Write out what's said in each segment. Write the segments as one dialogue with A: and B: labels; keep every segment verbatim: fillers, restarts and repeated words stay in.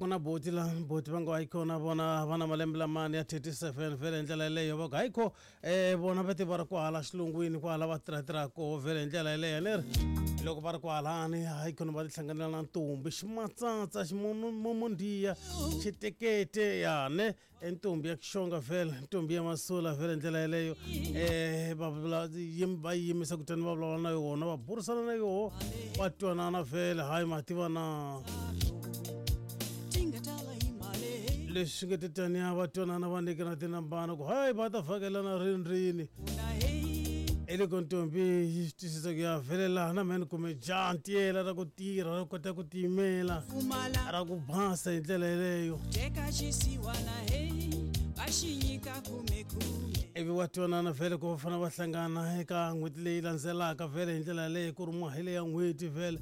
A: ku na boti la boti va ngo hayi kona vona va na malembe lamani ya thirty-seven vhele hi ndlela yeleyo va ku hayi kho um vona va ti va ri kwahala xilungwini kwahala va tirhatirha koho vhele hi ndlela yeleyo ni ri loko va ri kwahalani hayi khona va tihlanganela na ntombi ximatsatsa ximomondiya xitekete ya ne ntombi ya xixonga vhele ntombi ya masula vhele ndlela yeleyo um va vula va yimisa kutani va vulavula na yona va burisana na yoho va twanana vhele hayi mativa na leswi nga tetaniya va twanana va nyikana tinambana ku hayi va ta vhakelana rini rini eloko ntombi yi swi twisisa ku ya vhele laha na mehe ni kume jaha ntiyela ra ku tirha ra kota ku tiyimela ra ku basa hi ndlela yeleyo ivi wa twanana vhele ku va fanele va hlangana eka n'hweti leyi landzelaka vhele hi ndlela yaleyo ku ri mahele ya n'hweti vhele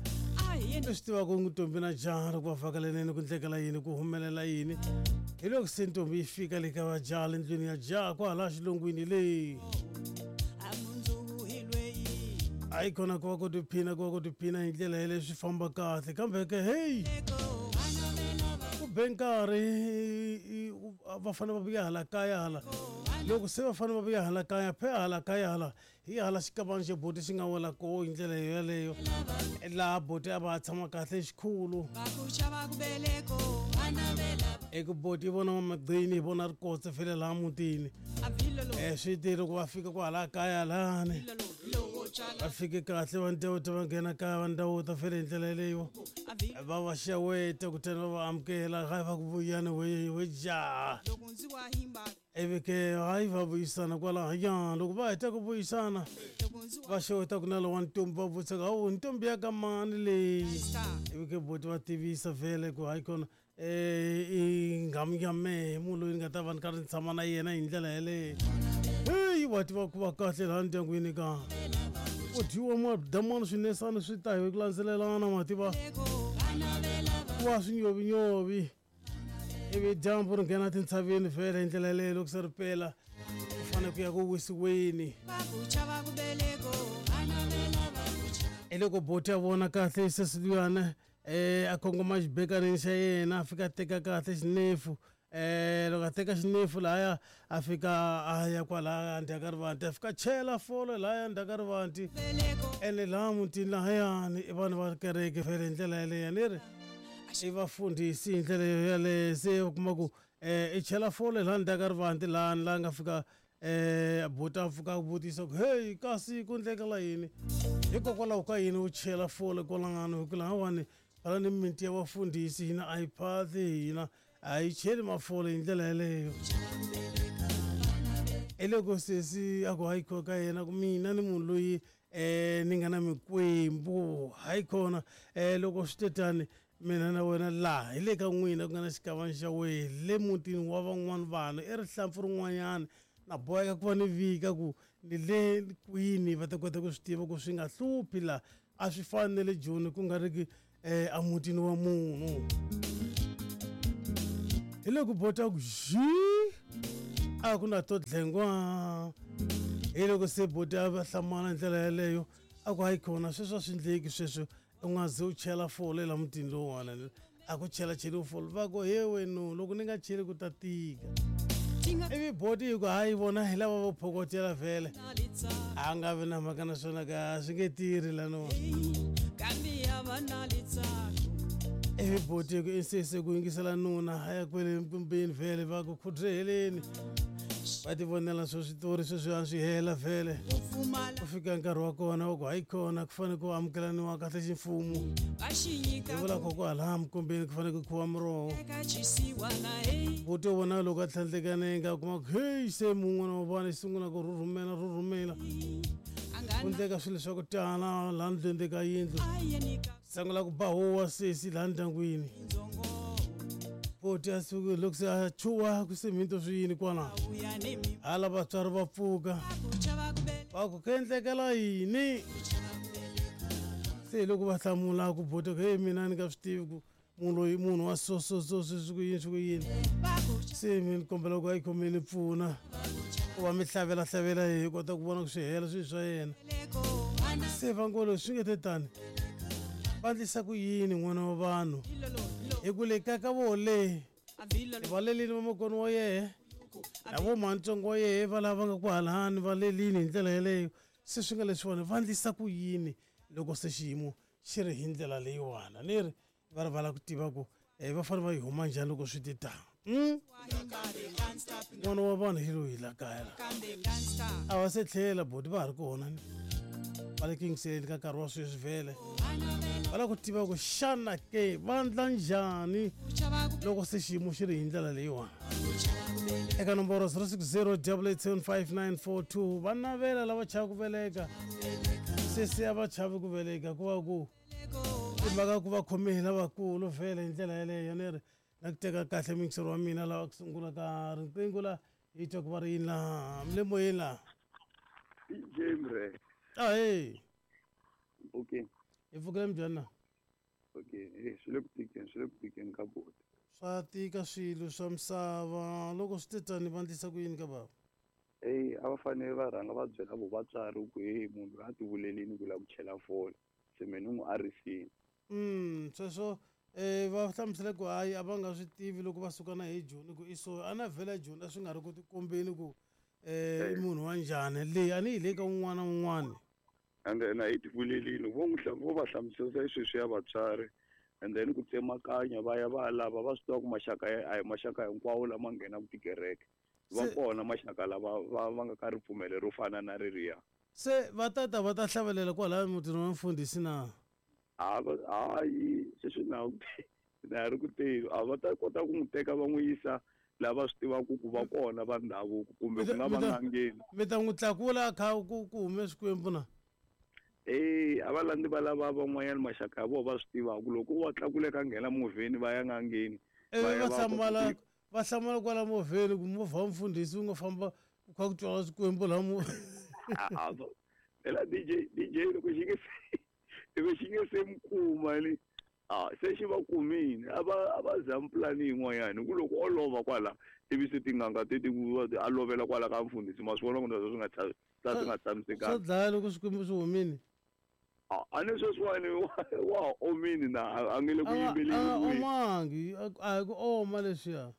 A: leswi tivaka ntombi na jaha loko va vhakaleneni ku ndlekela yini ku humelela yini hi loko se ntombi yi fika le ka vajaha le ndlwini ya jaha kwahala xilungwini leyi hayi kona ku va ku tiphina ku va ku tiphina hi ndlela yaleyo swi famba kahle kambe ke heyi ku be nkarhi va fanele va vuya hala kaya hala loko se va fanele va vuya hala kaya phe hala kaya hala hi hala xikavana xa boti xi nga wela koho hi ndlela yeleyo laha boti a va tshama kahle xikhulu eku boti yi vona mamagcini hi vona rikotse fele laha mutini um swi te loko va fika kwahala kaya lahani va fike kahle va ndewuta va nghena kaya va ndawuta fele hi ndlela yeleyo va va xeweta kutani va va amukela hayi va ku vuyani we we jaha ivi ke hayi va vuyisana kwalahaya loko va heta ku vuyisana va xeweta ku na lowa ntombi va vutisa ku hawu ntombi ya ka mani leyi ivi ke boti va tivisa vhele ku hayi kona um i nghamu ya mehe munhu loyi ni nga ta va ni karhi ni tshama na yena hi ndlela yeleyo heyi va tiva ku va kahle laha ndyangwini ka ku dyiwa madamana swinesana swi ta hi ku landzelelana mativa ku va swinyovinyovi ivi dyambu ri nghena tintshaveni vhele hi ndlela yeleyo loko se ri pela ku fanele ku ya ku wisiweni hi loko boti a vona kahle sesi luyana um a kongoma xibekaneni xa yena a fika a teka kahle xinefu um loko a teka xinefu lahaya a fika a ya kwalaya ndzhaku ka rivanti a fika chela folo lahaya ndzhaku ka rivanti ene laha mutini lahayani i vanhu va kereke vhele hi ndlela yeleyo ni ri i vafundhisi hi ndlela yeleyo se u kuma ku um i chela folo laha ndzhaku ka rivanti lahani laha nga fika um buti a pfuka a vutisa ku heyi kasi ku ndlekela yini hikokwalaho ka yini u chela fole kwalangani hi ku lahawani hala ni mimiti ya vafundhisi hina a yi phahli hina a yi cheli mafole hi ndlela yeleyo hi loko sesi a ku hayi kho ka yena ku mina ni munhu loyi um ni nga na mikwembu hayi khona um loko swi tetani mina na wena laha hi le ka n'wina ku nga na xikavana xa wehe le mutini wa van'wani vanhu i rihlampfu rin'wanyana na boheka ku va ni vika ku ni le kwini va ta kota ku swi tiva ku swi nga hluphi laha a swi fani na le Joni ku nga ri ki um emutini wa munhu hi loko bota ku xi a ku na to dlengwa hi loko se boti a va hlamala hi ndlela yeleyo a ku hayi khona sweswo a swi ndleki sweswo u nga ze u chela fole la mutini lowuwani a ku chela cheliwi fole va ku he wenu loko ni nga cheli ku ta tika ivi boti yi ku hayi vona hi lava vo phokotela vhele a nga vi na mhaka na swona ka swi nge tirhi laniwa ivi boti yi ku insese ku yingisela nuna a ya kwele nkumbeni vhele va ku khudreheleni va ti vonela swo switori sweswi a swi hela vhele ku fika nkarhi wa kona wa ku hayi khona ku fanele ku amukelaniwa kahle ximfumo hi vula ko ku hala mikumbeni ku fanele ku khuwa muroho buti u vona loko a tlhandlekanenge a kuma ku heyi se mun'wana wa vana yi sungula ku rhurhumela rhurhumela ku ndleka swilo swa ku tala laha ndlwini ka yindlu sungula ku ba huwa sesi laha ndyangwini boti a suke loko se a chuha ku se minto swi yini kwala hala vatswari va pfuka va ku ku endlekela yini se hi loko va hlamula ku boti ku heyi mina ni nga swi tivi ku munhu loyi munhu wa so so so swi ku yini swi ku yini se mi ni kombela ku a yi khomeni pfuna ku va mi hlavela hlavela hi kota ku vona ku swi hela swilo swa yena se va ngo leswi swi nge te tani Va endlisa ku yini n'wana wa vanhu hi ku le ka ka voho le va lelini vamakwenu wa yehe na vo mhantsongo wa yehe va lava nga ku halahani va lelini hi ndlela yeleyo se swi nga leswiwani va endlisa ku yini loko se xiyimo xi ri hi ndlela leyiwani ni ri va ri va lava ku tiva ku um va fanele va yi huma njhani loko swi ti tano n'wana wa vanhu hi loyi la kaya la a va se tlhela boti va ha ri kona ni va le ku yingiseleni ka nkarhi wa sweswi vhele va lava ku tiva ku xana ke va ndla njhani loko se xiyimo xi ri hi ndlela leyiwani eka nomboro zero six zero double eight seven five nine four two va navela lava chava ku veleka se se a va chavi ku veleka ku va ku i mhaka ku va khome hi lavakulu vhele hi ndlela yeleyo ni ri na ku teka kahle muyingiseri wa mina lava ku sungula ka riqingho la hi twa ku va ri yini laha mi le moyeni laha
B: D J Mre.
A: Ahee.
B: Okay.
A: Hi pfukile minjhani na?
B: Okay, eh swi le ku tikeni, swi le ku tikeni ka boti.
A: Swa tika swilo swa misava loko swi te tani va endlisa ku yini ka bava?
B: Eyi a va fanele va rhanga va byela vo vatswari ku hey munhu loyi a ti vulelini ku lava ku chela fole se me ni n'wi arisini.
A: Mm sweswo eh va hlamusela ku hayi a va nga swi tivi loko va suka na hi Joni ku i so a na vhela Joni a swi nga ri ku tikombeni ku eh i munhu wa njhani leyi a ni yi le ka un'wana na un'wana.
B: And then a yi ti vulelini vo n'wi vo va hlamusela sweswi ya vatswari and then ku tsemakanya va ya va ya lava va swi tiva ku maxaka ya a hi maxaka hinkwawo lama nghenaka tikereke va kona maxaka lava va va nga ka ripfumelo ro fana na reriya.
A: Se va tata va ta hlavelela kwalaya mutini wa mfundhisi na?
B: A va hayi sweswi na na ri ku teni a va ta kota ku n'wi teka va n'wi yisa lava swi tivaka ku va kona va ndhavuko kumbe ku nga va n'angeni.
A: Mi ta n'wi tlakula kha ku ku hume swikwembu na?
B: Eh a va landzi va lava van'wanyana maxaka ya vona va swi tivaka loko va tlakule ka nghena movheni va ya n'angeni.
A: Ivi va hlamala va hlamala kwala movheni ku movha wa mfundhisi wu nga famba ku kha ku twala swikwembu laha mo.
B: Phela D J D J loko xi nge loko xi nge se mi kuma ni a se xi va kumini a va a va zami pulani yin'wanyana hi ku loko o lova kwala ivi se tin'anga ti ti a lovela kwala ka mfundhisi ma swi vona ku swi nga swi nga tshamisekanga.
A: Swa dlaya loko swikwembu swi humile.
B: A ni sweswiwani wa ha omini na a nge le ku yimbeleni.
A: A omangi a hi ku oma leswiya.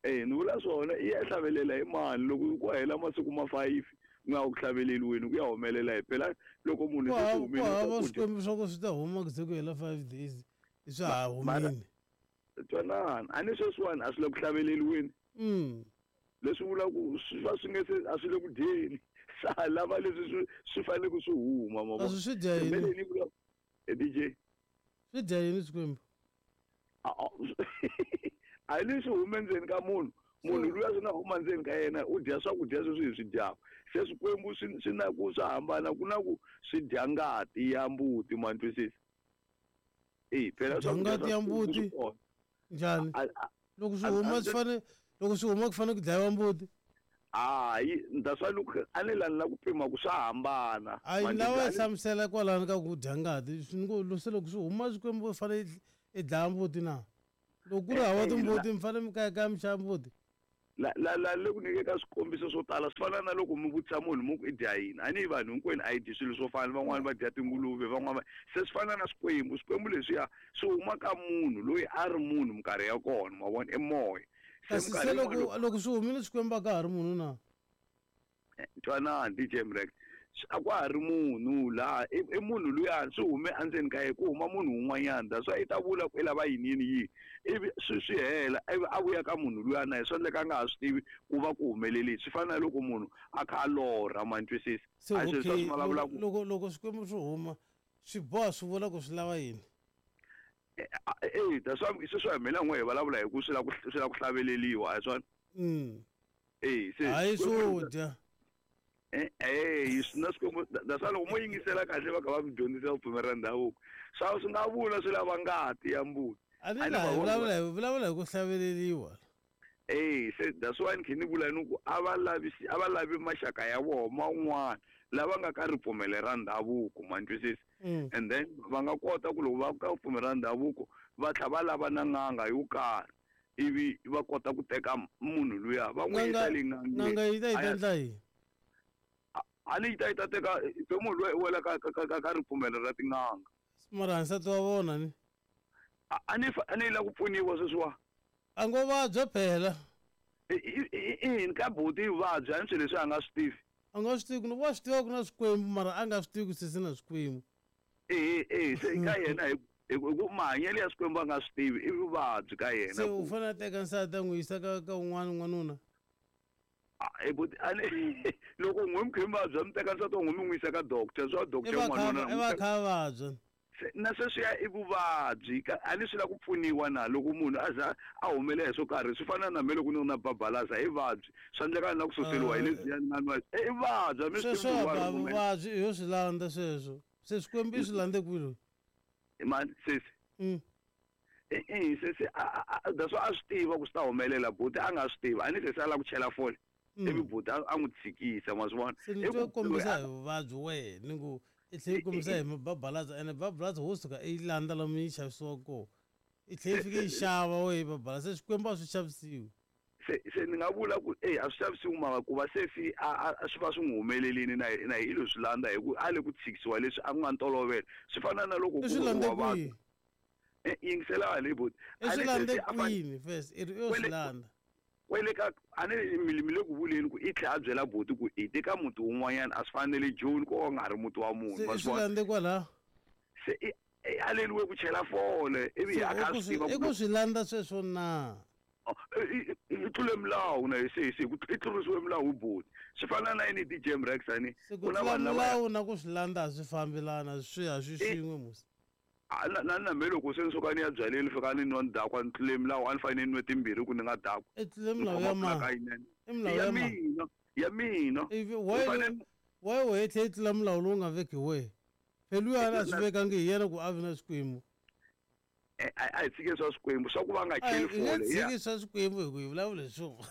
B: Eh ni vula swona i ya hlavelela hi mani loko ku hela masiku ma five ku nga ku hlaveleliweni ku ya humelela hi phela loko munhu se humile
A: ku hava swikwembu swa ku swi ta huma ku ze ku hela five days swa ha humile.
B: Twanana a ni sweswiwani a swi le ku hlaveleliweni.
A: Mm.
B: Leswi vula ku swi va swi nge se a swi le ku dyeni swa lava leswi swi swi fanele ku swi huma ma
A: vona. Swi dya yini?
B: D J
A: Swi dya yini swikwembu?
B: A leswi hume ndzeni ka munhu munhu luya swi nga huma ndzeni ka yena u dya swakudya sweswi hi swi dyaka se swikwembu swi swi na ku swa hambana ku na ku swi dya ngati ya mbuti ma twisisa. Eh phela
A: ngati ya mbuti njhani loko swi huma swi fanele loko swi huma ku fanele ku dlayiwa mbuti.
B: Hayi that's why loko a ni lani la ku pima ku swa hambana.
A: Hayi lawa hlamusela kwalano ka ku dya ngati swi ngo se loko swi huma swikwembu fanele i dlaya mbuti na loko ku ri hava timbuti mi fanele mi kaya kaya mi xava mbuti.
B: La la la le ku nyikeka swikombiso swo tala swi fana na loko mi vutisa munhu mi ku i dya yini a ni vanhu hinkwenu a yi dyi swilo swo fana van'wani va dya tinguluve van'wani se swi fana na swikwembu swikwembu leswiya swi huma ka munhu loyi a ri munhu minkarhi ya kona ma vona i moya.
A: Kasi se loko loko swi humile swikwembu a ka ha ri munhu na?
B: Twanana D J Mrex a ku ha ri munhu laha i munhu luya swi hume endzeni ka yena ku huma munhu un'wanyana that's why i ta vula ku i lava yini yini yini ivi swi swi hela ivi a vuya ka munhu luya na yena swi endleka a nga ha swi tivi ku va ku humelelini swi fana na loko munhu a kha a lorha ma twisisa.
A: Se okay loko loko swikwembu swi huma swi boha swi vula ku swi lava yini?
B: Eh that's why sweswi hi mina n'we hi vulavula hi ku swi lava ku swi lava ku hlaveleliwa a hi swona.
A: Mm.
B: Eh se
A: hayi swo dya.
B: Eh eh swi na swikwembu that's why loko mo yingisela kahle va kha va mi dyondzisa vupfumeri ra ndhavuko swa swi nga vula swi lava ngati ya mbuti.
A: A ni la vulavula hi vulavula hi ku hlaveleliwa.
B: Eh se that's why ni khe ni vula ni ku a va lavi a va lavi maxaka ya vona man'wana lava nga ka ripfumelo ra ndhavuko ma twisisa. And then va nga kota ku loko va ka ripfumelo ra ndhavuko va tlhela va lava na n'anga yo karhi ivi va kota ku teka munhu luya va n'wi yisa le n'angeni.
A: N'anga yi ta yi ta endla yini?
B: A ni yi ta yi ta teka se munhu luya i wela ka ka ka ka ripfumelo ra tin'anga.
A: Mara nsati wa vona ni
B: a ni a ni la ku pfuniwa sweswiwa
A: a ngo vabya phela
B: i ka buti i vabya a ni swilo leswi a nga swi tivi
A: a nga swi tivi ku wa swi tiva ku na swikwembu mara a nga swi tivi ku sesi na swikwembu
B: e e se ka yena hi ku mahanyelo ya swikwembu a nga swi tivi i vuvabyi ka yena
A: se u fanele a teka nsati a n'wi yisa ka ka un'wana n'wanuna
B: loko n'we mi khe mi vabya mi teka nsati wa n'we mi n'wi yisa ka doctor swa doctor
A: n'wanuna i va kha a vabya
B: na sweswiya i vuvabyi a ni swi lava ku pfuniwa na loko munhu a za a humelela hi swo karhi swi fana na me loko ni ri na babalaza i vabyi swa endleka na ku suseliwa hi lebyiya ni nga nwa i vabyi a mi swi
A: sweswo vuvabyi i yo swi landza sweswo se swikwembu i swi landze kwini
B: mani sesi e sesi that's why a swi tiva ku swi ta humelela buti a nga swi tivi a ni sesi a lava ku chela fole ivi buti a n'wi tshikisa ma swi vona
A: se ni twe kombisa hi vuvabyi wehe ni ku i tlhela yi kombisa hi mababalaza ene babalaza wo suka i yi landza lomu yi xavisiwa kona i tlhela yi fike yi xava wehe babalaza se swikwembu a swi xavisiwi
B: se se ni nga vula ku e a swi xavisiwi mara ku va sesi a swi va swi n'wi humelelini na na hi lo swi landza hi ku a le ku tshikisiwa leswi a ku nga ntolovelo swi fana na loko
A: ku wa vabya
B: yingisela le buti
A: i swi landze kwini first i ri i yo swi landza
B: kwele ka a ni mi le ku vuleni ku i tlhela a byela buti ku i teka muti wun'wanyana a swi fanele Joni ko nga ha ri muti wa munhu
A: se swi landze kwalaho
B: se i aleliwe ku chela fole ivi a kha swi tiva
A: i ku swi landza sweswo na
B: i tlule milawu na sesi i tlurisiwe milawu hi buti swi fana na yini D J Mrex ani
A: ku na vanhu milawu na ku swi landza a swi fambelana swi a swi swin'we musi
B: na na me loko se ni suka ni ya byaleni fika ni nwa ni dakwa ni tlule milawu a ni fanele ni nwe timbirhi ku ni nga dakwa
A: i tlule milawu ya ma
B: i milawu ya mina ya mina
A: why wehe tlhe i tlula milawu lowu nga veki wehe phela luya a swi vekangi hi yena ku a vi na swikwembu
B: a hi tshike swa swikwembu swa ku va nga cheli fole
A: hi tshiki swa swikwembu hi ku hi vulavula hi swona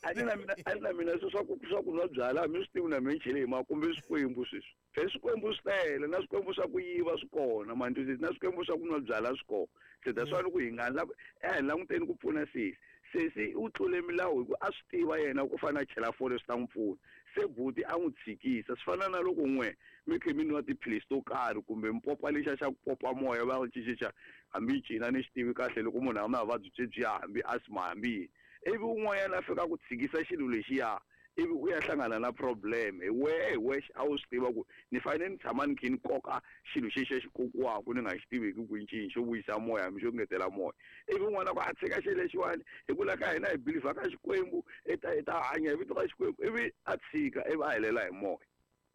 B: a ni na mina a ni na mina swi swa ku swa ku nwa byala mi swi tivi na mina chele hi ma kumbe swikwembu sweswi phela swikwembu swi tele na swikwembu swa ku yiva swi kona mantwisisi na swikwembu swa ku nwa byala swi kona se that's why ku hi nga la a hi languteni ku pfuna sesi sesi u tlule milawu hi ku a swi tiva yena ku fana a chela fole swi ta n'wi pfuna se buti a n'wi tshikisa swi fana na loko n'we mi khe mi nwa tiphilisi to karhi kumbe mipopa lexa xa ku popa moya va xixixa hambi cina ni xi tivi kahle loko munhu a na vuvabyi byebyiya hambi asthma hambi yini ivi un'wanyana a fika ku tshikisa xilo lexiya ivi u ya hlangana na problem hi wehe hi wexe a wu swi tiva ku ni fanele ni tshama ni khe ni koka xilo xexi xi kokiwaka ni nga xi tiveki ku ncini xo vuyisa moya hambi xo ngetela moya ivi un'wana ku a tshika xilo lexiwani hi ku la ka hina hi believer ka Xikwembu i ta i ta hanya hi vito ra Xikwembu ivi a tshika ivi a helela hi moya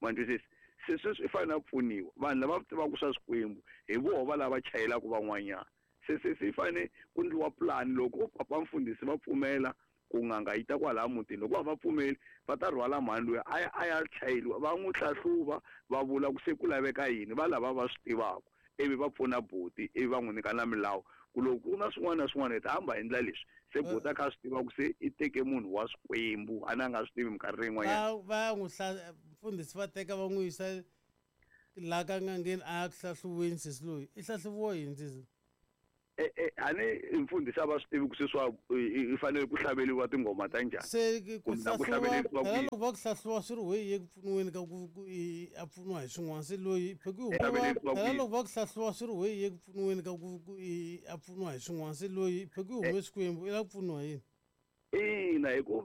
B: ma twisisa se sweswi i fanele a pfuniwa vanhu lava tivaka swa swikwembu hi voho va lava chayelaka van'wanyana se se se fanele ku ndliwa plan loko papa mfundhisi va pfumela ku n'anga yi ta kwalaya mutini loko va va pfumeli va ta rhwala mhani loyi a ya a ya chayeliwa va n'wi hlahluva va vula ku se ku laveka yini va lava va swi tivaka ivi va pfuna buti ivi va n'wi nyika na milawu ku loko ku na swin'wana na swin'wana hi ta hamba hi endla leswi se buti a kha a swi tiva ku se i teke munhu wa swikwembu a na a nga swi tivi minkarhi yin'wanyana
A: va ya n'wi mfundhisi va teka va n'wi yisa laha ka n'angeni a ya ku hlahluweni sesi loyi i hlahluviwa yini sesi
B: a ni mfundhisi a va swi tivi ku sweswiwa i fanele ku hlaveliwa tinghoma ta njhani
A: se ku hlahluva phela loko va ku hlahluva swi ri weyi ye ku pfuniweni ka ku a pfuniwa hi swin'wana se loyi phela loko va ku hlahluva swi ri weyi ye ku pfuniweni ka ku a pfuniwa hi swin'wana se loyi phe ku hume swikwembu i lava ku pfuniwa yini
B: ina hi ku